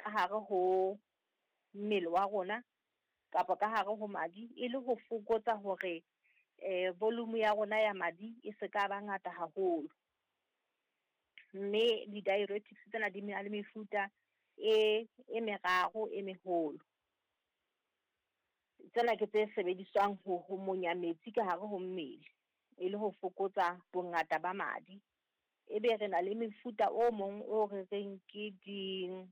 ka hare ho mmele wa rona kapa ka hare ho madi, e le ho fokotsa hore volume ya rona ya madi e se ka ba ngata haholo. Mme di-diuretics tsena di na le mefuta e meraro e meholo. Tsena ke tse sebediswang ho monya metsi ka hare ho mmele, e le ho fokotsa bongata ba madi. E be re na le mefuta o mong o re reng ke di-renin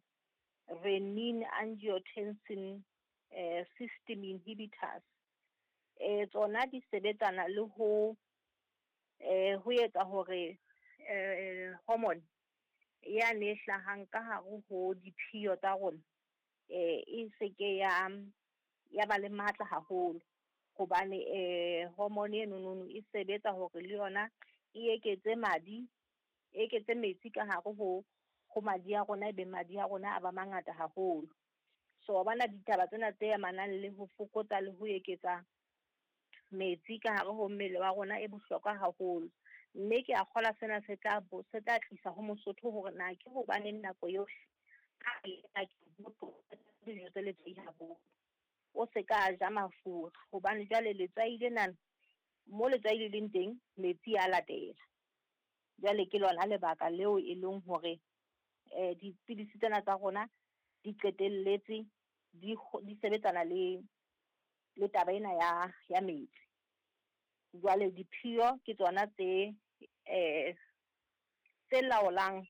angiotensin system inhibitors. Tsona di sebetsana le ho etsa hore hormone yane e hlahang ka hare ho diphiyo tsa rona, e seke ya ba le matla haholo. Hobane hormone eno nono e sebetsa hore le yona e eketse madi, e eketse metsi ka hare ho madi a rona, e be madi a rona a ba mangata haholo. So wa bona ditaba tsena tse amanang le ho fokotsa le ho eketsa metsi ka hare ho mmele wa rona e bohlokwa haholo. Mme ke a kgolwa sena se tla se tla tlisa ho Mosotho hore na ke hobaneng nako yohle dijo tse letswai haholo. O se ka ja mafura, hobane jwale letswai lena, mo letswai le leng teng, metsi a latela. Jwale ke lona lebaka leo e leng hore dipidisi tsena tsa rona di qetelletse di sebetsana le taba ena ya metsi. Jwale diphiyo ke tsona tse laolang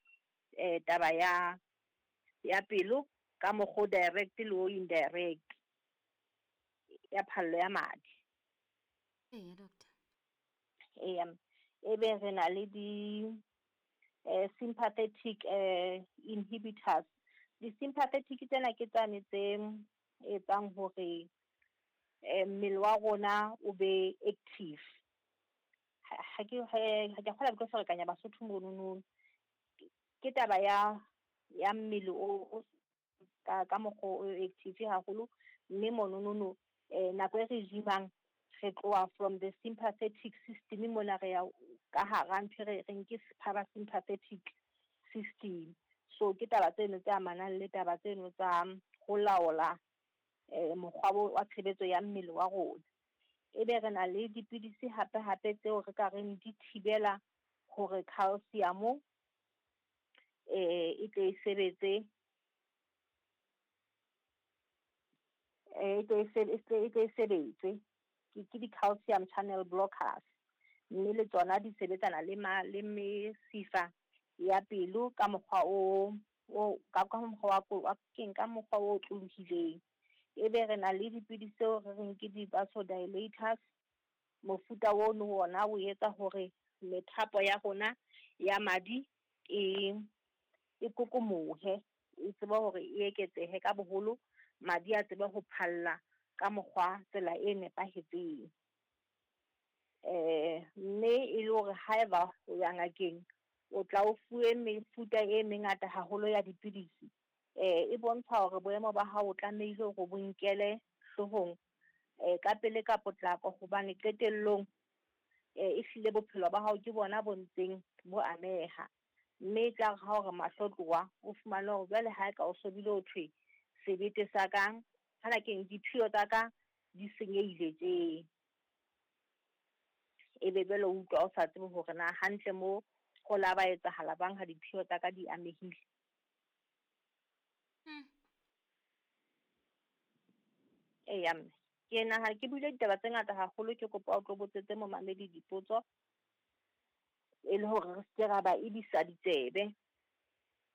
taba ya pelo ka mokgwa direct le o indirect ya phallo ya madi. Eya, doctor. Eya, e be re na le di sympathetic inhibitors. Di-sympathetic tsena ke tsane tse etsang hore mmele wa rona o be active. Ha ke kgola ke tlo ferekanya Basotho monono. Ke taba ya mmele o ka mokgwa o active haholo, mme mononono nako e re jimang re tloha from the sympathetic system mona re ya ka hara ntho e re reng ke parasympathetic system. So ke taba tseno tse amanang le taba tseno tsa ho laola mokgwa wa tshebetso ya mmele wa rona. E be re na le dipidisi hape hape tseo re ka reng di thibela hore calcium e tle e sebetse, e tle e sebetse. Ke di-calcium channel blockers, mme le tsona di sebetsana le mesifa ya pelo ka mokgwa o ka mokgwa wa keng, ka mokgwa o otlolohileng. E be re na le dipidisi tseo re reng ke di-vasodilators. Mofuta ono ona o etsa hore methapo ya rona ya madi e kokomohe, e tsebe hore e eketsehe ka boholo, madi a tsebe ho phalla ka mokgwa tsela e nepahetseng. Mme e le hore haeba o ya ngakeng, o tla o fuwe mefuta e mengata haholo ya dipidisi, e bontsha hore boemo ba hao o tlamehile hore bo nkele hloohong ka pele ka potlako, hobane qetellong ehlile bophelo ba hao ke bona bo ntseng bo ameha. Mme e tla re ha o re mahlo tloha, o fumane hore jwale ha e ka o sobile ho thwe sebete sa ka, hana keng diphiyo tsa ka di senyehile tje. E be jwale o utlwa o sa tsebe hore na hantle mo ho la ba etsahala bang ha diphiyo tsa ka di amehile. Eya mme, ke nahana ke buile ditaba tse ngata haholo, ke kopa o tlo botsetse momamedi dipotso e le hore re se ke ra ba ebisa ditsebe.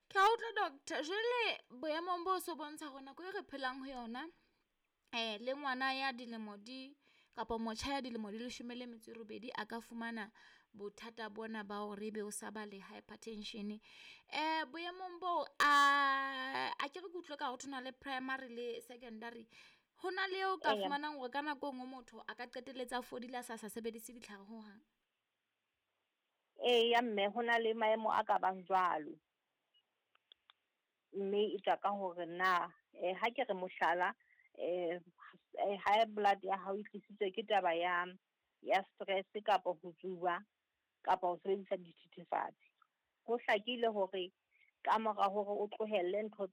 Ke a utlwa doctor, jwale boemong bo so bontsha hore nako e re phelang ho yona, le ngwana ya dilemo di kapa motjha ya dilemo di 18 a ka fumana bothata bona ba hore ebe o sa ba le hypertension. Boemong bo a ke re ke utlwe ka ho thona le primary le secondary, ho na le eo ka fumanang hore ka nako e nngwe motho a ka qetelletse a fodile a sa sebedise ditlhare ho hang. Eya mme, ho na le maemo a ka bang jwalo. Mme e tswa ka hore na ha ke re mohlala, high blood ya hao e tlisitswe ke taba ya stress kapa ho tsuba kapa ho sebedisa dithethefatsi. Ho hlakile hore ka mora hore o tlohelle ntho